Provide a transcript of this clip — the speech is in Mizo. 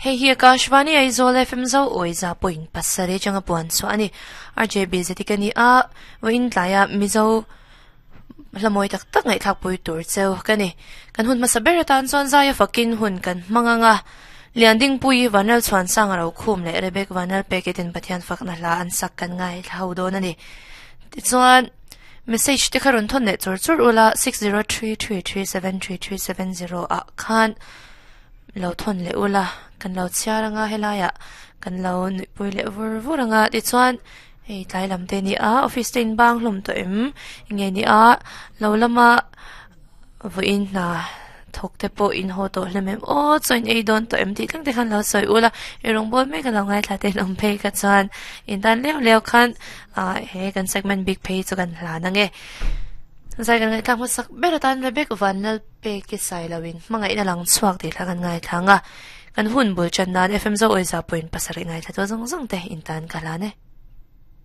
Hei hi Akashvani Aizawl FM zo awiza point pasarih atanga puan chhuah a ni. RJB zeti ka ni a, vawiin tlaia Mizo hla mawi tak tak ngaihthlak pui tur cheu ka ni. Kan hun hmasa ber atan chuan zaia fakin hun kan hmang ang a, Liandingpuii Vanral Chhuansanga Rokhum leh Rebek Vanral Peketin Pathian fakna hla an sak kan ngaithla ho dawn a ni. Tichuan, message te kha rawn thawn leh chur chur ula 6033373370 ah khan lo thawn leh ula, kan lo chhiar anga helaiah kan lo nuihpui leh vur vur anga tichuan hei tlai lam te ni a office te in bang hlawm tawh em nge ni a lo lama vawiin hna thawk te pawh in haw tawh hlem em aw chaw in ei dawn tawh em tih thleng te khan lo sawi ula eirawng bawl mek a lo ngaithla te an awm phei kha chuan in tan leu leu khan ah he kan segment bik phei chu kan hlan ang e. Zai kan ngaihthlak hmasak ber atan Rebek Vanlalpeki Sailoin hmangaihna lang chhuak tih thla kan ngaithla ang a, kan hun bul tan nan FM Zo Awizah pawhin pasarih ngaithla tu zawng zawng te in tan ka hlan e.